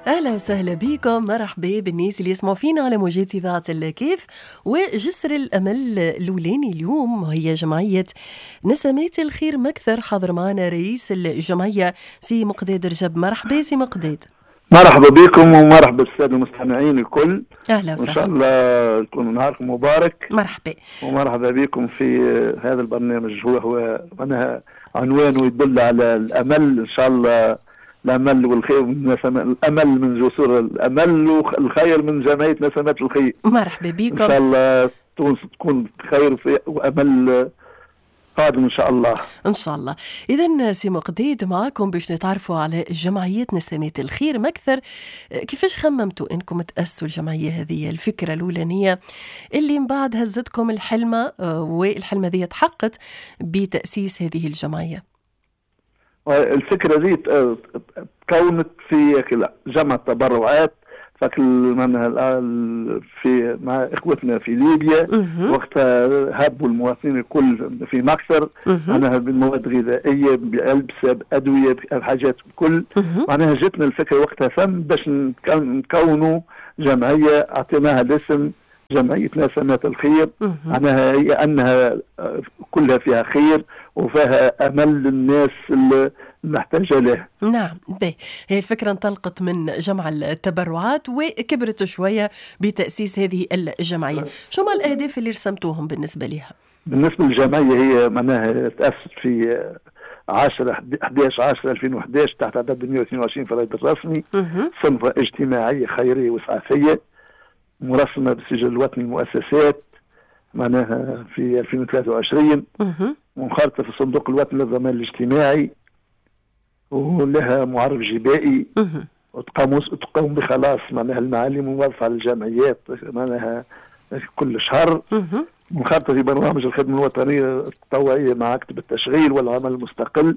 اهلا وسهلا بكم، مرحبا بالناس اللي يسمعوا فينا على موجات اذاعة الكيف وجسر الامل الاولاني. اليوم هي جمعية نسمات الخير مكثر، حاضر معنا رئيس الجمعية سي مقداد رجب. مرحبا سي مقداد. مرحبا بكم ومرحبا بالساده المستمعين الكل. اهلا وان شاء وسهلا. الله يكون نهاركم مبارك. مرحبا. ومرحبا بكم في هذا البرنامج، هو معناها عنوانه يدل على الامل، ان شاء الله الامل والخير من الامل من جسور الامل والخير من جمعية نسمات الخير. مرحبا ان بكم. شاء الله تونس تكون بخير وامل قادم ان شاء الله. ان شاء الله. اذا سي مقداد معاكم باش نتعرفوا على جمعية نسمات الخير مكثر. كيفاش خممتوا انكم تاسسوا الجمعية هذه؟ الفكرة الاولانية اللي من بعد هزتكم الحلمة، والحلمه هذه تحققت بتاسيس هذه الجمعية. الفكرة دي تكونت في جمع التبرعات فكل في مع اخوتنا في ليبيا. وقتها هبوا المواطنين الكل في مكثر معناها بالمواد الغذائيه، بالبسه، بادويه، بحاجات الكل. معناها جتنا الفكرة وقتها فم باش نكونوا جمعية اعطيناها الاسم جمعية نسمات الخير. معناها هي انها كلها فيها خير وفيها امل للناس المحتاجه له. نعم، باهي. هي الفكرة انطلقت من جمع التبرعات وكبرت شوية بتأسيس هذه الجمعية. شو ما الأهداف اللي رسمتوهم بالنسبة لها؟ بالنسبة للجمعية هي معناها تاسست في 10 11 10 2011 تحت عدد 122 في الرائد الرسمي. صنفة اجتماعية خيرية وإسعافية مرسمة بالسجل الوطني للمؤسسات معناها في 2023، منخرطة في الصندوق الوطني للضمان الاجتماعي ولها معرف جبائي، وتقوم بخلاص معناها المعالم الموظفة على الجمعيات معناها كل شهر. منخرطة في برنامج الخدمة الوطنية التطوعية مع مكتب التشغيل والعمل المستقل.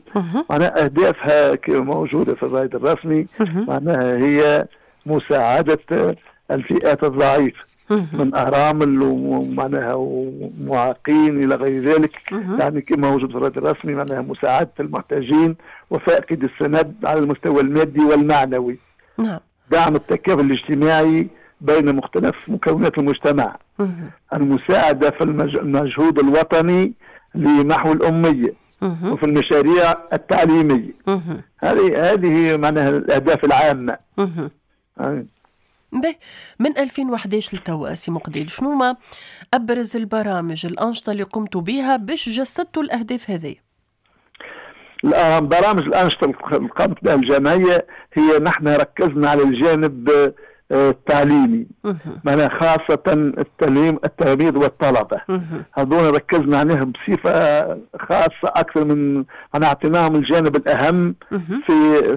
معناها أهدافها موجودة في الرائد الرسمي، معناها هي مساعدة الفئات الضعيفة من أرامل ومعناها ومعاقين إلى غير ذلك. يعني كما موجود في الرائد الرسمي معناها مساعدة المحتاجين وفاقد السند على المستوى المادي والمعنوي. دعم التكافل الاجتماعي بين مختلف مكونات المجتمع. المساعدة في المجهود الوطني لمحو الأمية وفي المشاريع التعليمية. هذه معناها الأهداف العامة. به من 2011 لتوا سي مقداد، شنو ما أبرز البرامج الأنشطة اللي قمتوا بها باش جسدتوا الأهداف هذه؟ برامج الأنشطة اللي قامت بها الجمعية هي نحن ركزنا على الجانب التعليمي، معناها خاصة التعليم التلاميذ والطلبة. هذول ركزنا عليهم بصفة خاصة أكثر من معناها أعطيناهم الجانب الأهم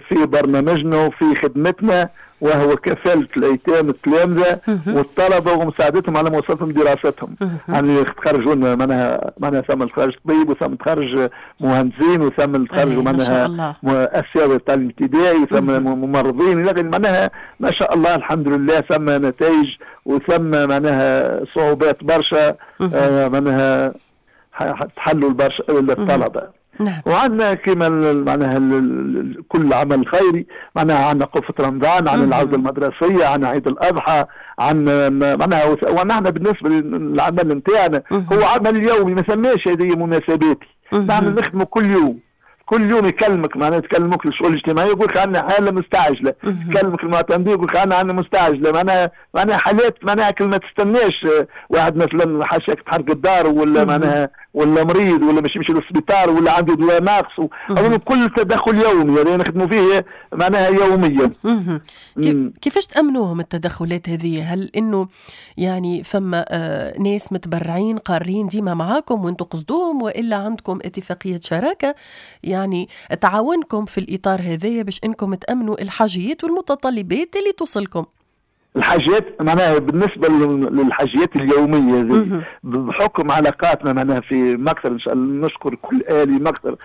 في برنامجنا وفي خدمتنا، وهو كفالة الأيتام التلامذة والطلبة ومساعدتهم على مواصلتهم دراستهم. يعني تخرجوا معناها ثم تخرج طبيب وثم تخرج مهندسين وثم تخرجوا معناها أساتذة التعليم الابتدائي وثم ممرضين إلى غير، معناها ما شاء الله الحمد لله ثم نتائج وثم معناها صعوبات برشا معناها تحلوا البرشا للطلبة. وعندنا كما معناها كل عمل خيري، معناها عندنا قفة رمضان، عندنا العودة المدرسية، عندنا عيد الأضحى، عندنا معناها. ونحن بالنسبة للعمل نتاعنا هو عمل يومي، ما ثماش هذه مناسباتي. نحن نخدموا كل يوم، كل يوم يكلمك معناها تكلمك الشؤون الاجتماعية يقول لك عندنا حاله مستعجلة، يكلمك المعتمدين يقول لك عندنا مستعجلة، معناها حالات معناها كل ما تستناش واحد مثلا حاشاك تحرق الدار ولا معناها ولا مريض ولا مش يمشي للسبيطار ولا عنده دواء ناقص، كل تدخل يومي يعني نخدموا فيه معناها يوميا. كيفاش تأمنوهم التدخلات هذه؟ هل انه يعني فما ناس متبرعين قارين ديما معاكم وانتم قصدوهم، والا عندكم اتفاقية شراكة يعني تعاونكم في الإطار هذايا باش انكم تأمنوا الحاجيات والمتطلبات اللي توصلكم؟ الحاجات معناها بالنسبة للحاجيات اليومية ذي بحكم علاقاتنا معناها في مكثر، إن شاء الله نشكر كل آلي مكثر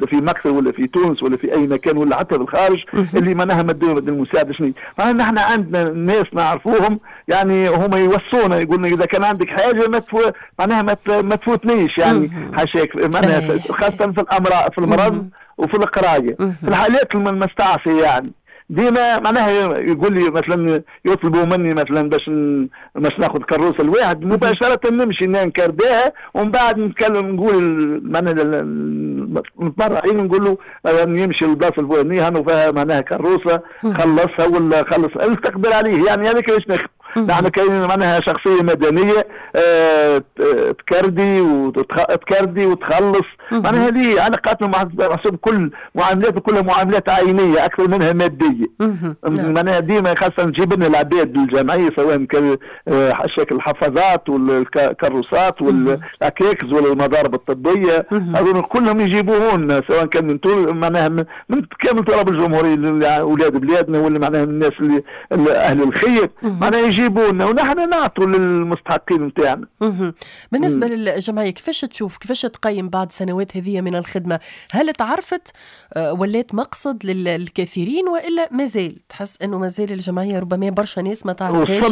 في مكثر ولا في تونس ولا في أي مكان ولا حتى في الخارج اللي معناها مدوا المساعدة. شنو معناها نحن عندنا ناس نعرفوهم يعني هما يوصونا يقولنا إذا كان عندك حاجة ما معناها ما تفوتنيش يعني حاشاك معناها خاصة في الأمراض في المرض وفي القراية في الحالات المستعصية يعني. ديما معناها يقول لي مثلا يطلبوا مني مثلا باش ناخذ كروسه الواحد مباشرة نمشي نكرداها، ومن بعد نتكلم نقول معناها المتبرعين نقول له يمشي للبلاصه الفلانية هانو فيها معناها كروسه خلصها ولا خلص استقبل عليه. يعني هذاك علاش نخدم نحن. كاين معناها شخصية مدنية تكردي وتكردي وتخلص، معناها هذه علاقاتنا محسوب كل معاملات كلها معاملات عينيه اكثر منها مادية. معناها ديما خاصة نجيب لنا العباد للجمعية سواء كان شكل الحفاظات والكروسات والعكاكز ولا المضارب الطبية، هذول كلهم يجيبوهن سواء كان من معناها من كامل تراب الجمهورية، اولاد بلادنا ولا معناها الناس اللي اهل الخير، معناها يجيبونا ونحن نعطوا للمستحقين نتاعنا. بالنسبة للجمعية كيفاش تشوف، كيفاش تقيم بعد سنوات هذه من الخدمة؟ هل تعرفت ولات مقصد للكثيرين والا مازال تحس انه مازال الجمعية ربما برشا ناس ما تعرفهاش؟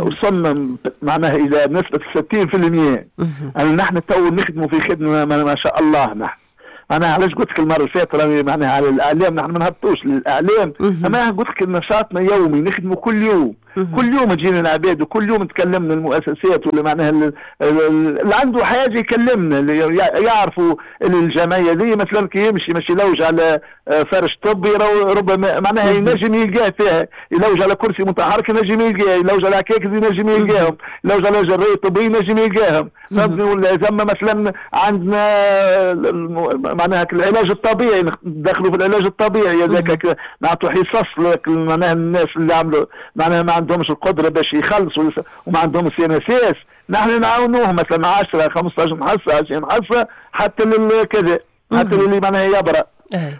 وصلنا معناها الى نسبه 60%. يعني نحن تو نخدموا في خدمة ما شاء الله. نحن انا علاش قلت لك المرة اللي فاتت راني معناها على الاعلام، نحن ما نهبطوش للاعلام، اما قلت لك نشاطنا يومي، نخدموا كل يوم، كل يوم تجينا العباد وكل يوم تكلمنا المؤسسات ولا معناها اللي عنده حاجة يكلمنا، اللي يعرفوا الجمعية دي مثلا كي يمشي ماشي يلوج على فرش طبي ربما معناها ينجم يلقاه فيها، يلوج على كرسي متحرك ينجم يلقاه، يلوج على عكاكز ينجم يلقاهم، يلوج على جرايه طبية ينجم يلقاهم، فهمتني؟ ولا ثم مثلا عندنا معناها العلاج الطبيعي، ندخلوا في العلاج الطبيعي هذاك نعطوا حصص معناها الناس اللي عملوا معناها ما عندهمش القدرة باش يخلصوا وما عندهمش CNSS، نحن نعاونوهم مثلا 10 15 حصة 20 حصة حتى للكذا، حتى اللي معناها يبرأ.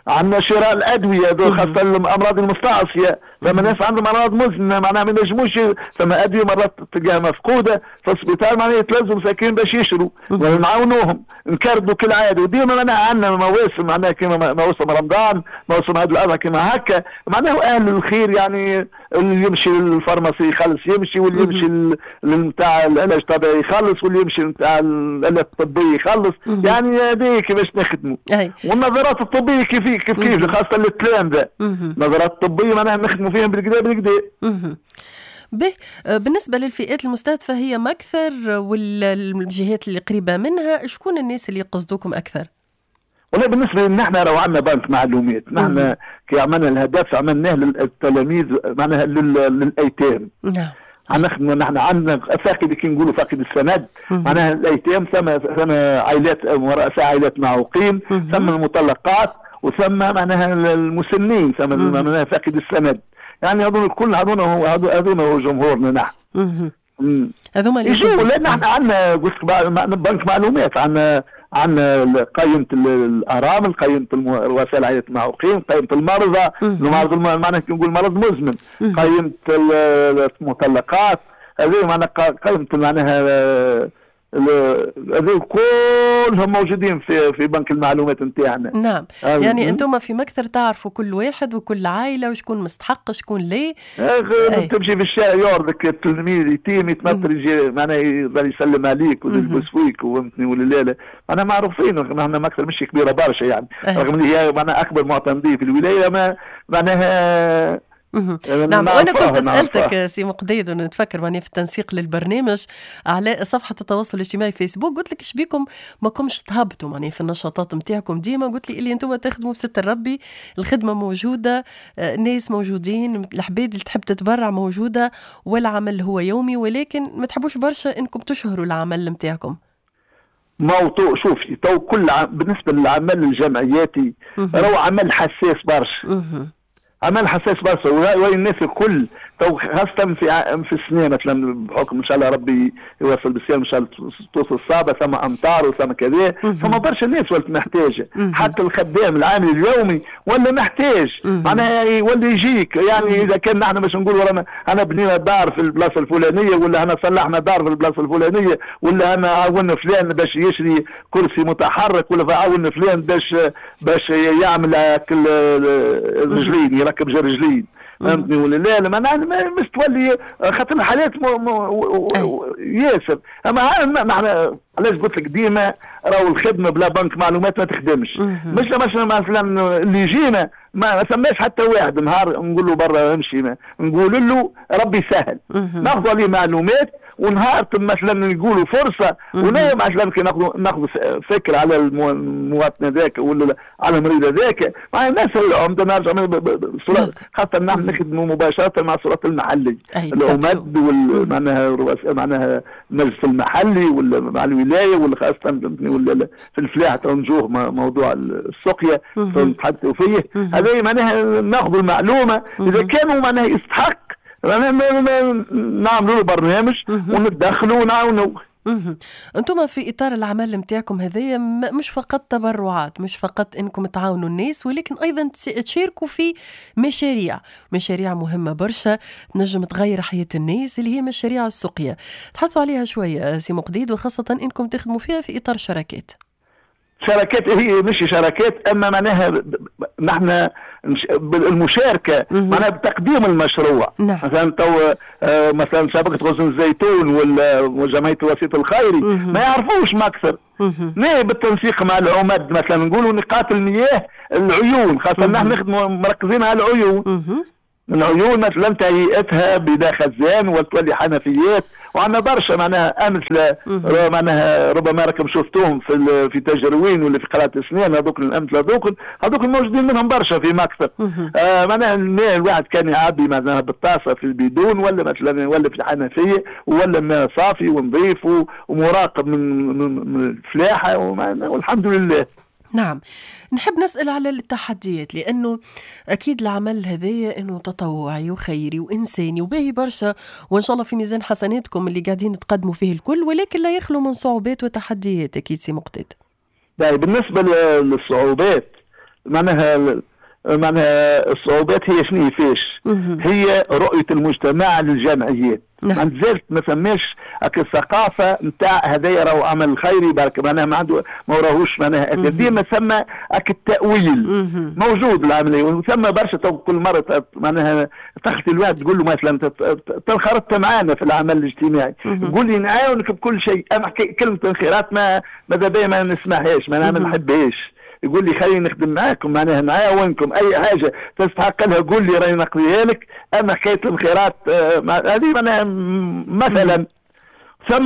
عندنا شراء الادوية خاصة الامراض المستعصيه، فما ناس عندهم امراض مزمنة معناها ما ينجموش، فما ادوية مرات تلقاها مفقودة في السبيطار معناها يتلزموا مساكين باش يشروا، ونعاونوهم نكردوا كالعادة. وديما معناها عندنا مواسم معناها كيما موسم رمضان، موسم عيد الاضحى كيما هكا، معناها اهل الخير يعني اللي يمشي لل pharmacie يخلص يمشي، واللي يمشي نتاع العلاج الطبيعي يخلص، واللي يمشي نتاع الآلات الطبية يخلص، يعني هذه كيفاش نخدموا. والنظارات الطبية كيف كيف خاصة للتلامذه، النظارات الطبية معناها نخدموا فيهم بالكدا بالكدا. به بالنسبة للفئات المستهدفة هي ما أكثر والجهات اللي قريبة منها، شكون الناس اللي يقصدوكم أكثر؟ والله بالنسبة لنا احنا راهو عندنا بنك معلومات، نحن كي عملنا الهدف عملناه للتلاميذ معناها للأيتام. نعم. نخدموا نحن عندنا فاقد كي نقولوا فاقد السند، معناها الأيتام، ثم عائلات ورؤساء عائلات معوقين، ثم المطلقات، وثم معناها المسنين، ثم معناها فاقد السند. يعني هذول الكل هذول هو جمهورنا نحن. هذوما اللي يجيو لان احنا عندنا قلت بنك معلومات، عندنا قائمة الأرامل، قائمة رؤساء العائلات المعوقين، قائمة المرضى، المرض معناها كي نقول مرض مزمن، قائمة المطلقات، هذه معناها قائمة معناها هذول كلهم موجودين في بنك المعلومات نتاعنا. نعم، يعني انتم في مكثر تعرفوا كل واحد وكل عائلة وشكون مستحق شكون ليه. تمشي في الشارع يعرضك التلميذ يتيم يتنطر يجي معناها يظل يسلم عليك ويلبس فيك وفهمتني ولا لا. معناها معروفين نحن مكثر مش كبيرة برشا يعني، رغم اللي هي معناها اكبر معتمديه في الولاية، ما معناها. نعم. وأنا كنت سألتك سي مقداد ونتفكر معني في التنسيق للبرنامج على صفحة التواصل الاجتماعي فيسبوك، قلت لك ايش بيكم ما كمش تهبطوا معني في النشاطات نتاعكم ديما، قلت لي اللي انتم تخدموا بستر ربي، الخدمة موجودة، ناس موجودين، العباد اللي تحب تتبرع موجودة، والعمل هو يومي، ولكن ما تحبوش برشا انكم تشهروا العمل نتاعكم. موضوع شوفي تو كل بالنسبة للعمل الجمعياتي راهو عمل حساس برشا. عمل حساس برشا، وين الناس الكل تو خاصة في السنة مثلا بحكم ان شاء الله ربي يوصل بالسلام ان شاء الله توصل الصعبة، ثم امطار وثم كذا، ثم برشا ناس ولات محتاجة، حتى الخدام العامل اليومي ولا محتاج، معناها يولي يجيك يعني اذا كان نحن باش نقولوا رانا انا بنينا دار في البلاصة الفلانية، ولا انا صلحنا دار في البلاصة الفلانية، ولا انا عاونا فلان باش يشري كرسي متحرك، ولا عاونا فلان باش يعمل الرجلين راكب جرجلين، فهمتني ولا لا؟ لا معناها مش تولي خاطر الحالات ياسر. اما نحن علاش قلت لك ديما راهو الخدمة بلا بنك معلومات ما تخدمش. مش مثلا اللي يجينا ما ثماش حتى واحد نهار نقول له برا امشي، نقول له ربي يسهل، ناخذ عليه معلومات ونهار مثلا نقولوا فرصة، ولا مثلا كي ناخذ فكرة على المواطن هذاك ولا على المريض هذاك، مع الناس العمدة نرجع خاطر نحن نخدموا مباشرة مع السلطات المحلية، العمد معناها معناها المجلس المحلي ولا مع الولاية ولا خاصة ولا في الفلاحة تنجوه موضوع السقيه نتحدثوا فيه، هذا معناها ناخذ المعلومة اذا كانوا معناها يستحق نعملوا له برنامج وندخلوا ونعاونوا. انتم في اطار العمل نتاعكم هذايا مش فقط تبرعات، مش فقط انكم تعاونوا الناس، ولكن ايضا تشاركوا في مشاريع مهمة برشا تنجم تغير حياة الناس اللي هي مشاريع السقيا. تحدثوا عليها شوية سي مقديد، وخاصة انكم تخدموا فيها في اطار شراكات. شراكات هي مش شراكات، اما معناها نحن المشاركة معناها بتقديم المشروع. نعم. مثلا تو مثلا شبكة غصن الزيتون ولا وجمعية الوسيط الخيري ما يعرفوش ما اكثر. بالتنسيق مع العمد مثلا نقولوا نقاط المياه العيون، خاصة نحن نخدموا مركزين على العيون. العيون مثلا تهيئتها بدا خزان وتولي حنفيات، وعندنا برشا معناها امثلة معناها ربما راكم شفتوهم في تجروين ولا في قناة اسنان، هذوك الامثلة هذوك الموجودين منهم برشا في مكتب. معناها الماء الواحد كان يعبي معناها بالطاسه في البيدون ولا مثلا ولا في الحنفية، ولا ماء صافي ونظيف ومراقب من الفلاحة والحمد لله. نعم، نحب نسأل على التحديات، لأنه أكيد العمل هذايا أنه تطوعي وخيري وإنساني وباهي برشا، وإن شاء الله في ميزان حسناتكم اللي قاعدين تقدموا فيه الكل، ولكن لا يخلو من صعوبات وتحديات أكيد سي مقتدى. بالنسبة للصعوبات معناها الصعوبات هي شنو فيش؟ هي رؤية المجتمع للجمعيات. نعم. ما زالت ما فماش الثقافة نتاع هذايا راهو عمل خيري برك، معناها ما عنده ما وراهوش معناها ديما ثم التأويل موجود العملية، وثم برشا كل مرة معناها تخطي الواحد تقول له مثلا تنخرطت معانا في العمل الاجتماعي، تقول لي نعاونك بكل شيء، اما كلمة انخراط ماذا بيا ما نسمعهاش، معناها ما نحبهاش. يقول لي خليني نخدم معاكم معناها نعاونكم اي حاجة تستحق لها قول لي راني نقضيها لك، اما حكاية الانخراط هذه معناها مثلا. ثم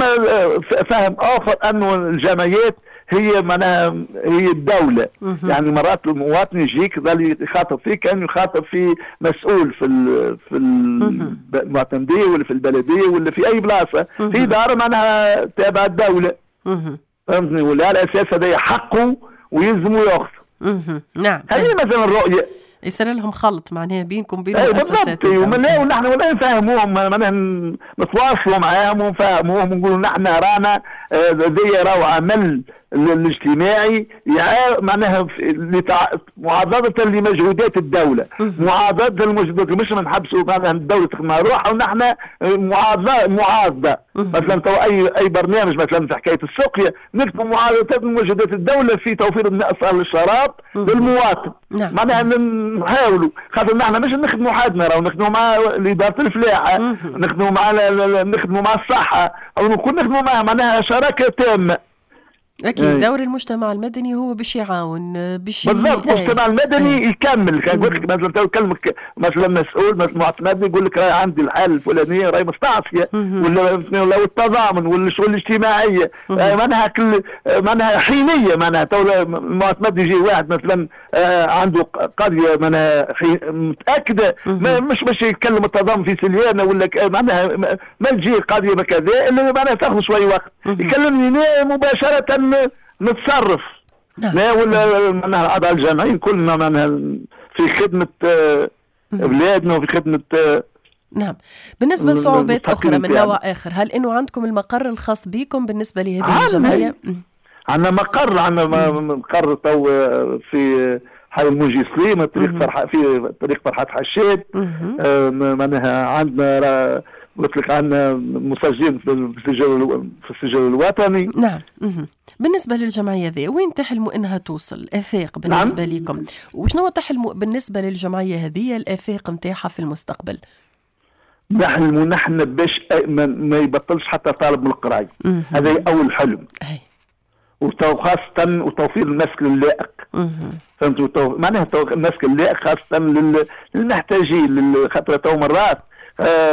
فهم اخر انه الجمعيات هي معناها هي الدولة، يعني مرات المواطن يجيك ظل يخاطب فيك كانه يخاطب في مسؤول في المعتمديه ولا في البلدية ولا في اي بلاصة، في دار معناها تابعه الدولة. فهمتني؟ ولا على اساس هذا حقه ويلزموا ياخذ. نعم. هذه مثلا الرؤية يصير لهم خلط معناها بينكم بين المؤسسات. ونحن ولا نفهموهم معناها نتواصلوا معاهم ونفهموهم ونقولوا نحن رانا ذي راهو عمل الاجتماعي معناها معاضدة لمجهودات الدولة، معاضدة للمجهودات، مش ما نحبسوا معناها الدولة تخدم روحها ونحن معاضدة. مثلا تو اي برنامج مثلا في حكاية السقيا نكتبوا معاضدة لمجهودات الدولة في توفير الماء الصالح للشراب للمواطن. نعم. معناها نحاولوا خاطر نحن مش نخدموا حدنا، راهو نخدموا مع إدارة الفلاحة، نخدموا مع نخدموا مع الصحة، أو نكون نخدموا معها معناها شراكة تامة. أكيد دور المجتمع المدني هو باش يعاون باش بالضبط. المجتمع المدني يكمل. كان قلت لك مثلا تو يكلمك مثلا مسؤول مثلا معتمد يقول لك راهي عندي الحالة الفلانية راهي مستعصيه ولا التضامن ولا الشؤون الاجتماعية معناها كل معناها حينيه. معناها تو المعتمد يجي واحد مثلا عنده قضية معناها متاكدة مش باش يتكلم التضامن في سليانه ولا معناها ما تجي قضية كذا الا معناها تاخذ شوي وقت يكلمني مباشرة نتصرف. لا ولا معناها الاعضاء الجامعيين كلنا معناها في خدمة بلادنا وفي خدمة. نعم. بالنسبة لصعوبات اخرى من نوع اخر، هل انه عندكم المقر الخاص بكم بالنسبة لهذه الجمعية؟ عندنا مقر، عندنا مقر تو في حي المنجي سليم، طريق فرحات في طريق فرحات حشاد. معناها عندنا قلت لك عندنا مسجلين في السجل الوطني. نعم. بالنسبة للجمعية ذي وين تحلموا انها توصل الافاق بالنسبة نعم. لكم؟ وشنو تحلموا بالنسبة للجمعية هذه الافاق نتاعها في المستقبل؟ نحلموا نحن باش ما يبطلش حتى طالب من القراية. هذا اول حلم. وخاصة وتوفير المسكن اللائق. فهمتوا؟ معناها المسكن اللائق خاصة للمحتاجين، خاطر تو مرات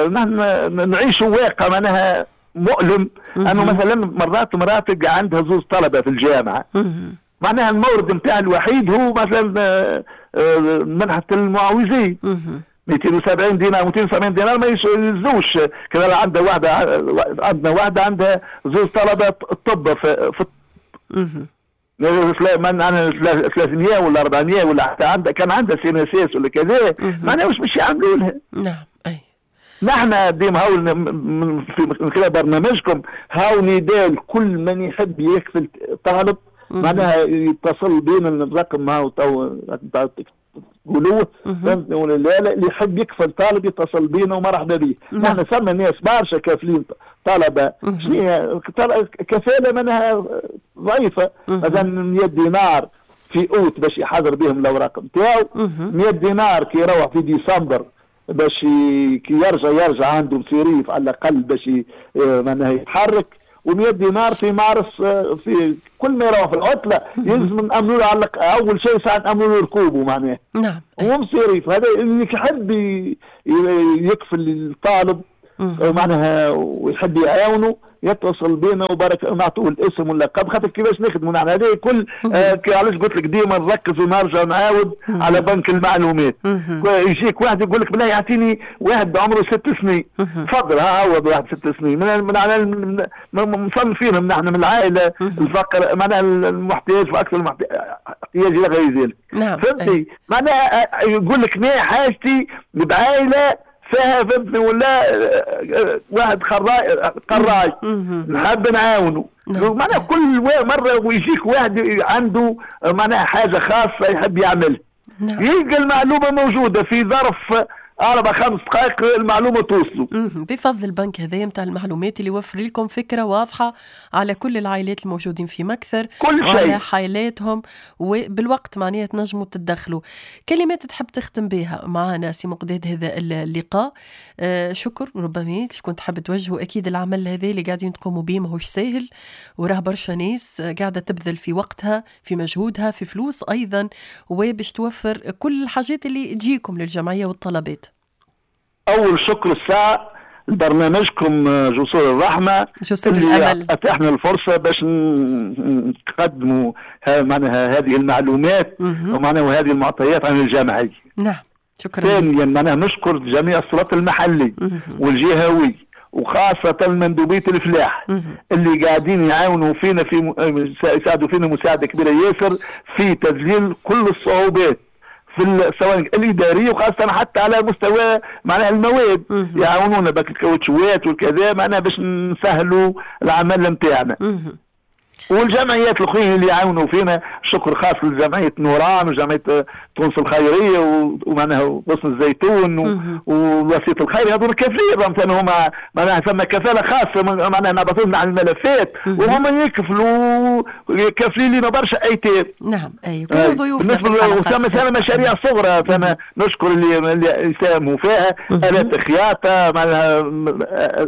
نحن نعيشوا واقع معناها مؤلم، انه مثلا مرات تلقى عندها زوز طلبه في الجامعة، معناها المورد نتاع الوحيد هو مثلا منحه المعوزين 270 دينار، 270 دينار ما يزوش. كذا عندها واحدة، عندنا واحدة عندها زوز طلبه الطب في من 300 ولا 400 ولا حتى عندها كان عندها CNSS ولا كذا، معناها واش باش يعملوا لها؟ نعم. اي نحن ديما هاو من خلال برنامجكم هاو نداء لكل من يحب يكفل طالب، معناها يتصل بينا الرقم هاو تو تقولوه، فهمتني ولا لا؟ اللي يحب يكفل طالب يتصل بينا ومرحبا به. نحن ثم ناس برشا كافلين طلبه، شنو كفالة معناها ضعيفة، مثلا 100 دينار في اوت باش يحضر بهم الاوراق نتاعو، 100 دينار كي يروح في ديسمبر باش كي يرجع عنده مصاريف على الاقل باش معناها يتحرك، و100 دينار في مارس في كل ما يروح في العطلة يلزم نامنوا له على اول شيء ساعة نامنوا له ركوبه معناها. نعم. ومصاريف هذا اللي يحب يكفل الطالب معناها ويحب يعاونه يتصل بينا وبارك نعطوه الاسم واللقب، خاطر كيفاش نخدموا نحن هذا الكل. علاش قلت لك ديما نركز ونرجع نعاود على بنك المعلومات. يجيك واحد يقول لك بالله يعطيني واحد بعمره 6 سنين، تفضل ها هو واحد 6 سنين، من مصنفينهم نحن من العائلة الفقر معناها المحتاج واكثر احتياج الى غير ذلك. نعم. فهمتي؟ معناها يقول لك ما حاجتي بعائله فيها، فهمتني ولا واحد قراي نحب نعاونه. معناها كل مرة ويجيك واحد عنده معناها حاجة خاصة يحب يعملها، يلقى المعلومة موجودة في ظرف 4-5 دقائق المعلومة توصلوا. بفضل البنك هذا نتاع المعلومات اللي يوفر لكم فكرة واضحة على كل العائلات الموجودين في مكثر، كل شيء وعلى حالاتهم، وبالوقت معناها تنجموا تتدخلوا. كلمات تحب تختم بها معنا سي مقداد هذا اللقاء؟ شكر ربما شكون تحب توجهوا. أكيد العمل هذا اللي قاعدين تقوموا به ماهوش ساهل، وراه برشا ناس قاعدة تبذل في وقتها، في مجهودها، في فلوس أيضا، وباش توفر كل الحاجات اللي تجيكم للجمعية والطلبات. أول شكر الساعة لبرنامجكم جسور الرحمة، جسور الأمل، أتاحنا الفرصة باش نقدموا معناها هذه المعلومات ومعناها هذه المعطيات عن الجمعية. نعم. شكرا. ثانيا معناها نشكر جميع السلطات المحلي والجهوي وخاصة مندوبية الفلاح اللي قاعدين يعاونوا فينا في يساعدوا فينا مساعدة كبيرة ياسر في تذليل كل الصعوبات في سواء الادارية وخاصة حتى على مستوى معناها المواد، يعاونونا بك الكاوتشوات والكذا معناها باش نسهلوا العمل نتاعنا. والجمعيات الاخرين اللي يعاونوا فينا، شكر خاص لجمعية نوران وجمعية تونس الخيرية ومعناها غصن الزيتون والوسيط الخيري، هذول كافلين مثلا هما معناها ثم كفالة خاصة معناها نبعثوا لنا على الملفات وهم يكفلوا كافلين لنا برشا ايتام. نعم. اي كل ضيوفنا ثم مشاريع صغرى ثم نشكر اللي يساهموا فيها، آلات خياطة معناها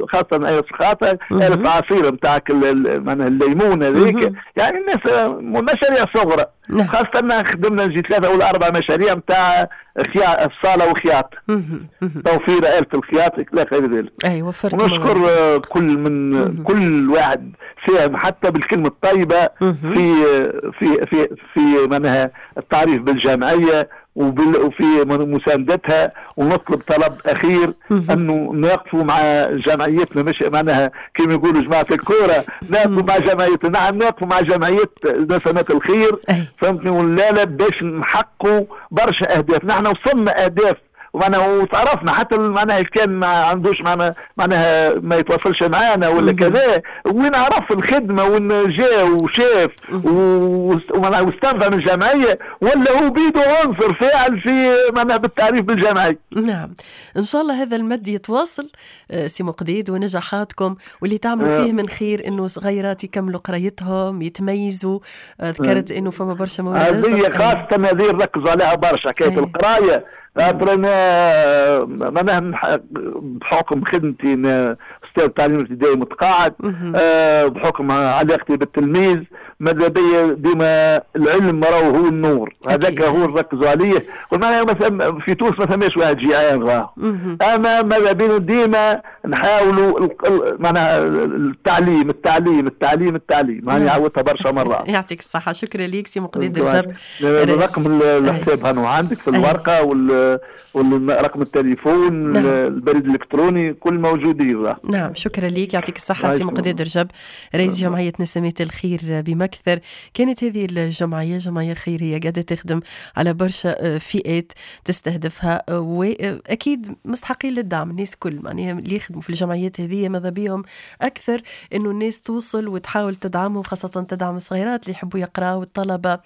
خاصة آلة الخياطة، آلة عصير نتاعك معناها الليمون هذيك، يعني الناس مشاريع صغرى. نعم. خاصة خدمنا نجي 3 ولا 4 مشاريع نتاع الصالة وخياطة، توفير آلة الخياطة إلى غير ذلك. أي وفرت. ونشكر كل من كل واحد ساهم حتى بالكلمة الطيبة في في في في معناها التعريف بالجمعية وفي مساندتها. ونطلب طلب اخير انه نقفوا مع جمعيتنا، مش معناها كما يقولوا جماعة الكورة نقفوا مع جمعيتنا، نعم نقفوا مع جمعية نسمات الخير، فهمتني ولا لا، باش نحققوا برشا اهداف. نحن وصلنا اهداف ومعناها وتعرفنا حتى معناها كان ما عندوش معناها ما يتواصلش معانا ولا كذا، وين عرف الخدمة وين جاء وشاف واستنفع من الجمعية، ولا هو بيده عنصر فاعل في معناها بالتعريف بالجمعيه. نعم، ان شاء الله هذا المد يتواصل سي مقديد، ونجاحاتكم واللي تعملوا فيه من خير انه صغيرات يكملوا قرايتهم يتميزوا. ذكرت انه فما برشا موارد هذه خاصة، هذه نركزوا عليها برشا حكاية القراية. خاطر انا معناها بحكم خدمتي استاذ تعليم ابتدائي متقاعد، بحكم علاقتي بالتلميذ، ماذا بيا ديما العلم راهو هو النور، هذاك هو نركزوا عليه. ومعناها مثلا في تونس ما ثماش واحد جيعان راهو، اما ماذا بينا ديما نحاولوا معناها التعليم التعليم التعليم التعليم، يعني عودتها برشا مرات. يعطيك الصحة، شكرا لك سي مقديد رجب. رقم الحساب هانو عندك في الورقة والرقم التليفون، البريد الالكتروني، كل موجودين. نعم، شكرا لك، يعطيك الصحة سي مقديد رجب رئيس جمعية نسمات الخير بمكثر. كانت هذه الجمعية جمعية خيرية قاعدة تخدم على برشا فئات تستهدفها، وأكيد مستحقين للدعم الناس كل، معناها اللي يخدموا في الجمعيات هذه ماذا بيهم أكثر إنه الناس توصل وتحاول تدعمهم، خاصة تدعم الصغيرات اللي يحبوا يقراوا والطلبة.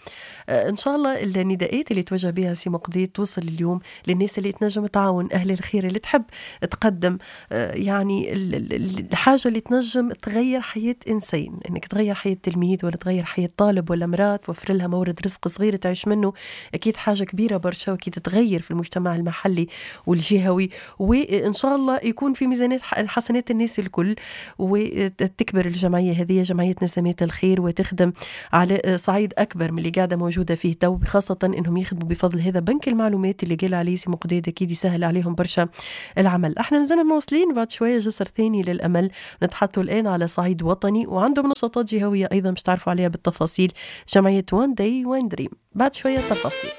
إن شاء الله النداءات اللي توجه بها سي مقديد توصل اليوم للناس اللي تنجم تعاون، أهل الخير اللي تحب تقدم يعني الحاجة اللي تنجم تغير حياة إنسان، إنك تغير حياة تلميذ ولا تغير حياة طالب ولا امرأة، توفر لها مورد رزق صغير تعيش منه، أكيد حاجة كبيرة برشا، وأكيد تغير في المجتمع المحلي والجهوي، وإن شاء الله يكون في ميزانات حسنات الناس الكل، وتكبر الجمعية هذه جمعية نسمات الخير وتخدم على صعيد أكبر من اللي قاعدة موجودة فيه تو، خاصة إنهم يخدموا بفضل هذا بنك المعلومات اللي قال عليه سي مقديد، أكيد يسهل عليهم برشا العمل. احنا مازلنا مواصلين بعد شوية جسر ثاني للأمل، نتحدثوا الآن على صعيد وطني وعندهم نشاطات جهوية أيضا مش تعرفوا عليها بالتفاصيل، جمعية One Day One Dream، بعد شوية تفاصيل.